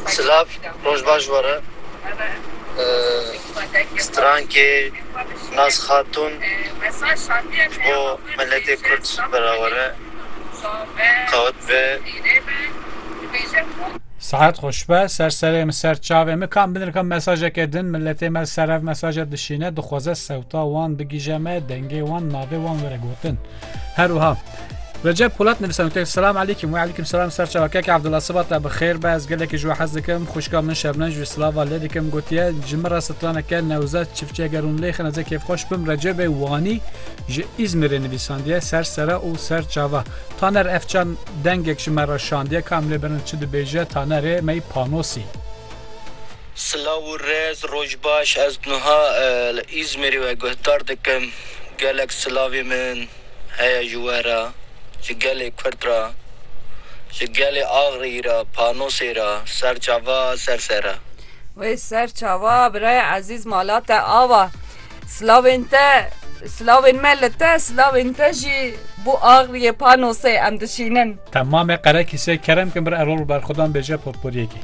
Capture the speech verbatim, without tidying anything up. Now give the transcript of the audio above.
Silav, roj baş were. Strankê Naz Xatun ji bo miletê Kurd berawere. Qewet be. Saet xweş be, ser serê min, ser çavê min. Kam binirka mesajeke din, miletê me ser ev mesaja dişîne, dixwaze sewta wan bigîje me, dengê wan, navê wan were gotin. Her wiha Recep Polat nivîsand, gote, Selam aleykum. We aleykum selam, ser çava. Kek Abdullah, siba te bi xêr be, ez gelekî ji we hez dikim. Xwişka min Şebnem ji we silava lê dikim. Gotiye, ji min re straneke Newzat Çiftçi, eger hûn lê xin, ez ê kêfxweş bim. Recebê Wanî ji Îzmîrê nivîsandiye, ser sere û ser çava. Taner Efçan dengek ji me re şandiye, kam lê berin çi dibêje, Tanerê me yî Panosî. Silav û rêz, roj baş, ez niha e, li Îzmîrê we guhdar dikim. Gelek silavê min heye ji we re, ji gelê Kurd re, ji gelê Axrî re, Panosê re, ser çava, ser sere. Wê ser çava, birayê ezîz, mala te ava. Silavên te, silavên me li te, silavên te jî bo Axriyê, Panosê em dişînin. Temamê Qerekîsê, kerem kin bir Erol Berxwedan bêje potporiyekê.